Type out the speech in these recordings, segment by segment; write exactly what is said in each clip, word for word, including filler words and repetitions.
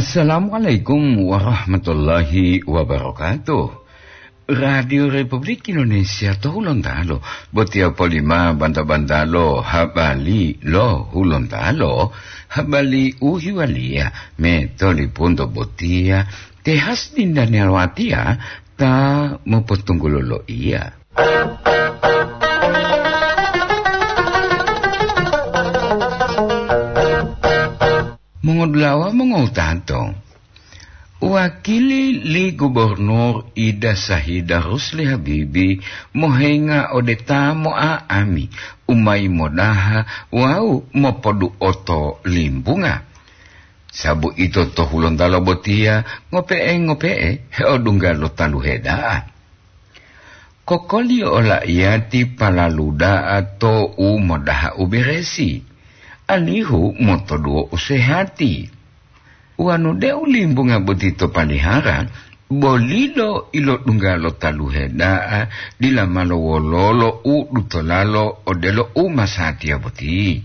Assalamualaikum warahmatullahi wabarakatuh. Radio Republik Indonesia to Hulontalo, botiya polima banta-bantalo habali lo Hulontalo, habali u hiwaliya me tolipunto botiya, te Hasdin Daniel Watia ta mopotunggulo loiya. Mongodulawa mongowutato, wakili li Gubernur Ida Sahida Rusli Habibi mohenga ode ta mo'a'ami u mayi modaha wawu mopoduoto limbunga. Sabu ito to Hulontalo botiya ngope'e-ngope'e heodungga lo taluhe da'a. Kokoliyo ola iyati palalu da'a to u modaha u beresi, alihu motoduwo u sehati. Wanu deu limbunga boti to palihara, bolilo ilodungga lo taluhe da'a, dila malo wololo u dutolalo odelo u masatiya boti.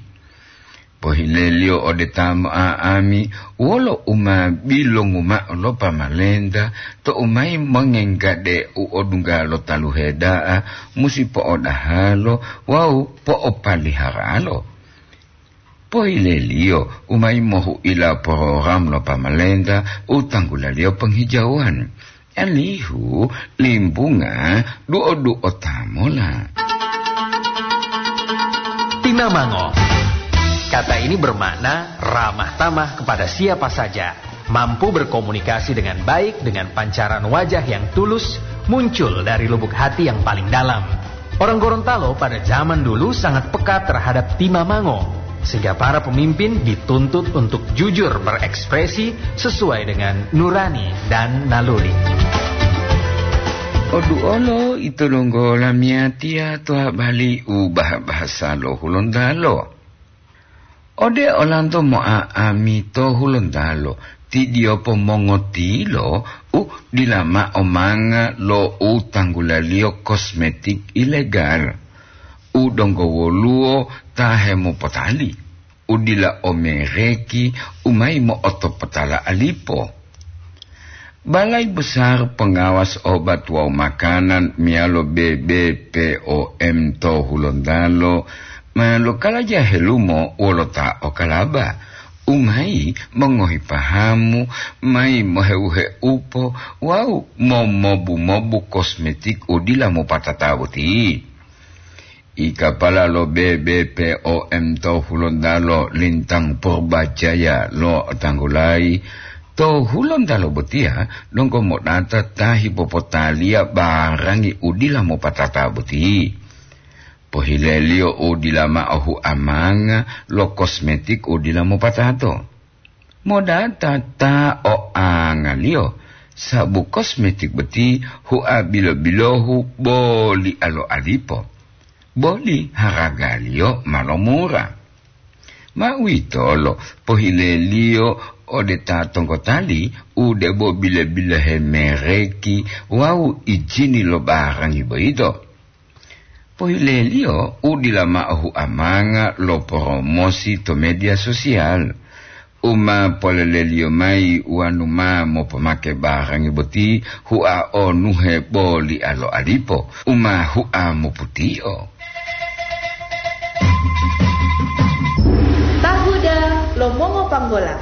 Pohileliyo ode ta mo'a'ami wolo u ma bilongu ma'o lo pamalenta to u mayi mongenggade u odungga lo taluhe da'a musi po'odahalo wawu po'opaliharalo. Pohileliyo u mayi mohu'ila porogram lo pamalenta u tanggulaliyo penghijauwan. Alihu limbunga duo-duo tamola. Timamango. Kata ini bermakna ramah tamah kepada siapa saja, mampu berkomunikasi dengan baik dengan pancaran wajah yang tulus muncul dari lubuk hati yang paling dalam. Orang Gorontalo pada zaman dulu sangat peka terhadap timamango, sehingga para pemimpin dituntut untuk jujur berekspresi sesuai dengan nurani dan naluri. Oduolo ito donggo lamiyatiya to habali u bahasa lo Hulontalo. Ode olanto mo'a'ami to Hulontalo, ti diyopo mongotilo u dila ma'o manga lo u tanggulaliyo kosmetik ilegal, u donggo woluwo ta hemopotali, u dila o mereki, u mayi mo'otopotala alipo. Balai Besar Pengawas Obat wawu Makanan meyalo B B P O M to Hulontalo ma lokalaja helumo wolo ta o kalaba, u mayi mongohi pahamu, mayi moheuheupo wawu momobu-mobu kosmetik u dila mopatata boti. I kapala lo B B P O M to Hulontalo Lintang Purbajaya lo'otanggulayi, to Hulontalo botiya donggo modata ta hipopotaliya barangi u dila mopatata boti. Pohileliyo u dila ma'o huamanga lo kosmetik u dila mopatato. Modata ta o angaliyo, sabu kosmetik boti hua bilo-bilohu boli alo alipo, boli haragaliyo ma lomura. Ma uwitolo pohileliyo ode ta tongkotali u debo bile-bilohe mereki wawu ijini lo barangi boyito. Pohileliyo u dila ma'o huamanga lo poromosi to media sosial, u ma poleleliyo mayi wanu ma mopomake barangi boti hua onuhe boli alo alipo, u ma hua moputio. Tahuda lo mongopanggola.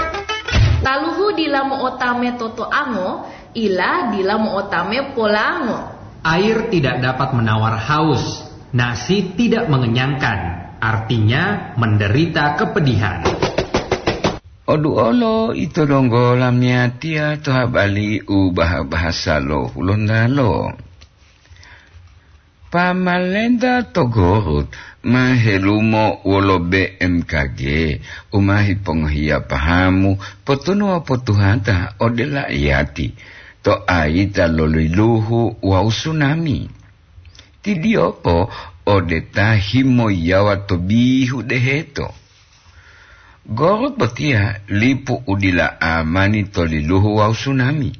Taluhu dila mo'otame totoango, ila dila mo'otame polango. Air tidak dapat menawar haus, nasi tidak mengenyangkan, artinya menderita kepedihan. Oduolo ito donggo lamiyatiya to habali u baha-bahasa lo Hulontalo. Pamalenta to Gorut ma helumo wolo B M K G u ma hipongohiya pahamu potunuwa potuhata ode la'iyati to ayita lo liluhu wawu sunami. Tidiyopo ode ta himoyiyawa to bihu deheto. Gorut botiya lipu u dila amani to liluhu wawu sunami.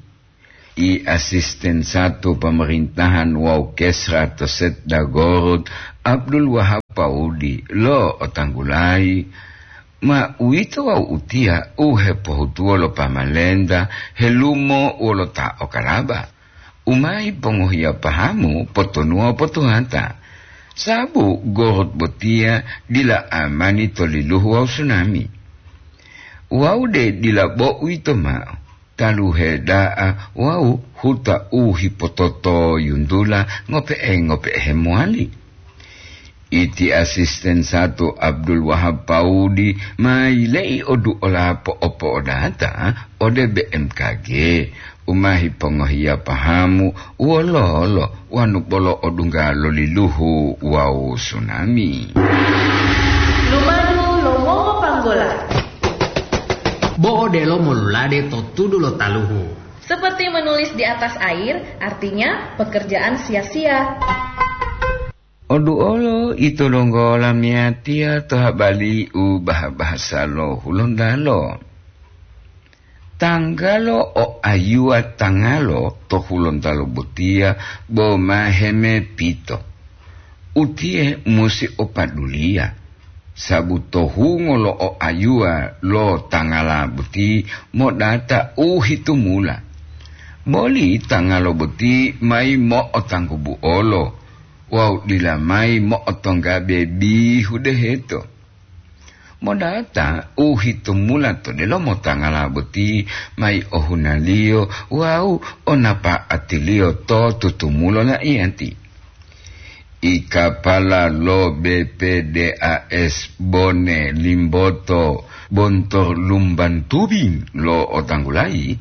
I asisten satu pemerintahan wawu kesra to Setda Gorut, Abdul Wahab Paudi, lo'otanggulayi, Ma uwito wawu utiya u hepohutuwo lo pamalenta helumo wolo ta o kalaba. U ma yipongohiya pahamu potonuwa potuhata. Sabu gorut botiya dila amani to liluhu wawu sunami. Wawu de dila bo uwito ma'o, taluhe da'a wawu huta u hipototoyuntula ngope'e-ngope'e hemowali. Iti asisten satu Abdul Wahab Paudi ma yile'i oduola po'opo'odata ode B M K G, u ma hipongohiya pahamu wololo wanu bolo odungga lo liluhu wawu sunami. Lumadu lo mongopanggola. Bo odelo molulade to tudu lo taluhu. Seperti menulis di atas air, artinya pekerjaan sia-sia. Oduolo ito donggo lamiyatiya to habali u baha-bahasa lo Hulontalo. Tanggalo o ayuwa tangalo to Hulontalo botiya bo ma hemepito. Utiye musi o paduliya, sabu to hungo lo o ayuwa lo tangala boti modata u hitumula. Boli tangalo boti mayi mo'otanggubu'olo wawu dila mayi mo'otonggabe bihu deheto. Modata u hitumula to delomo tangala boti mayi ohunaliyo wawu o napa'atiliyo to tutumulo la'iyati. I kapala lo B P D A S Bone Limboto Bontor Lumban Tubing lo otanggulayi,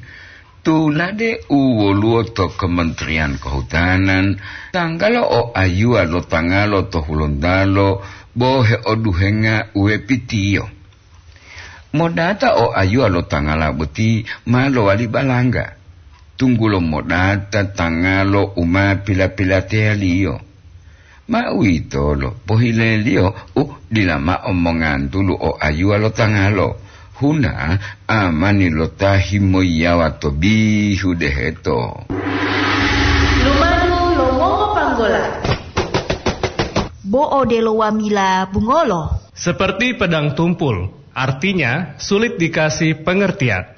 tulade u woluwo to Kementerian Kehutanan, tanggalo o ayuwa lo tangalo to Hulontalo bo heoduhenga uwepitiyo. Modata o ayuwa lo tangala boti ma lowali balangga, tunggulo modata tangalo u ma pila-pilateyaliyo. Ma uwitolo pohileliyo u dila mao mongantulu o ayuwa lo tangalo, huna amani lo ta himoyiyawa to bihu deheto. Lumadu lo mongopanggola. Bo odelo wamila bungolo. Seperti pedang tumpul, artinya sulit dikasih pengertian.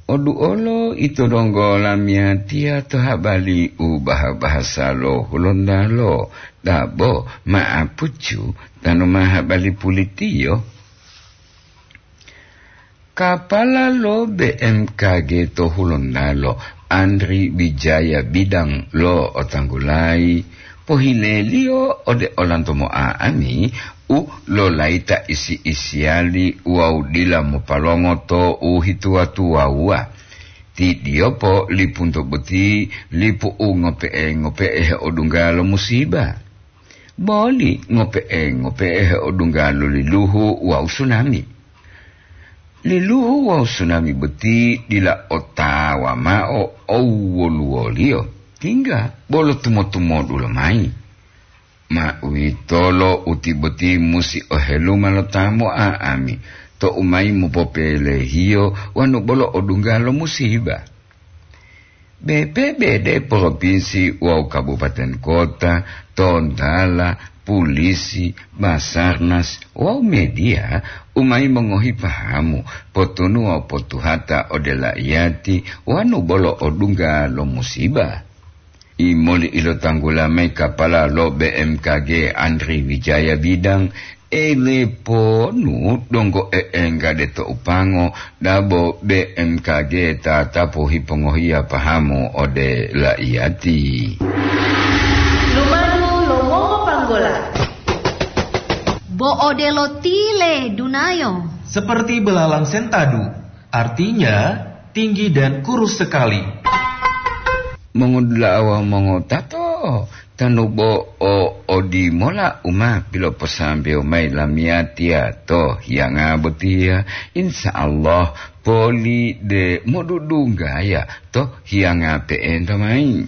Oduolo ito donggo lamiyatiya to habali u baha-bahasa lo Hulontalo, dabo ma'apucu tanu ma habali pulitiyo. Kapala lo B M K G to Hulontalo, Andri Wijaya Bidang lo otanggulayi, pohileliyo ode olanto mo'a'ami u lolayita isi-isiyali wawu dila mopalongoto u hituwa-tuwawuwa. Ti diyopo lipunto boti lipu u ngope'e-ngope'e heodunggalo musiba. Boli ngope'e-ngope'e heodunggalo liluhu wawu sunami. Liluhu wawu sunami boti dila otawa mao owoluwoliyo, tingga bolo tumo-tumodu lomayi. Ma uwitolo uti boti musi oheluma lo ta mo'a'ami, to u mayi mopopelehiyo wanu bolo odungga lo musiba. B P B D propinsi wawu kabupaten kota, tontala, pulisi, Basarnas, wawu mediya u mayi mongohi pahamu, potunuwa potuhata ode la'iyati wanu bolo odungga lo musiba. Imoli ilotanggula mayi kapala lo B M K G Andri Wijaya Bidang, eleponu donggo e'enggade to upango, dabo B M K G tatapu hipongohiya pahamu ode la'iyati. Lumadu lo mongopanggola. Bo odelo tile dunayo. Seperti belalang sentadu, artinya tinggi dan kurus sekali. Mongodula'a wawu mongotato, tanu bo o odimola u ma piloposambewo mayi lamiyatiya to hiyanga botiya, insya Allah poli de modudunggaya to hiyanga pe'enta mayi.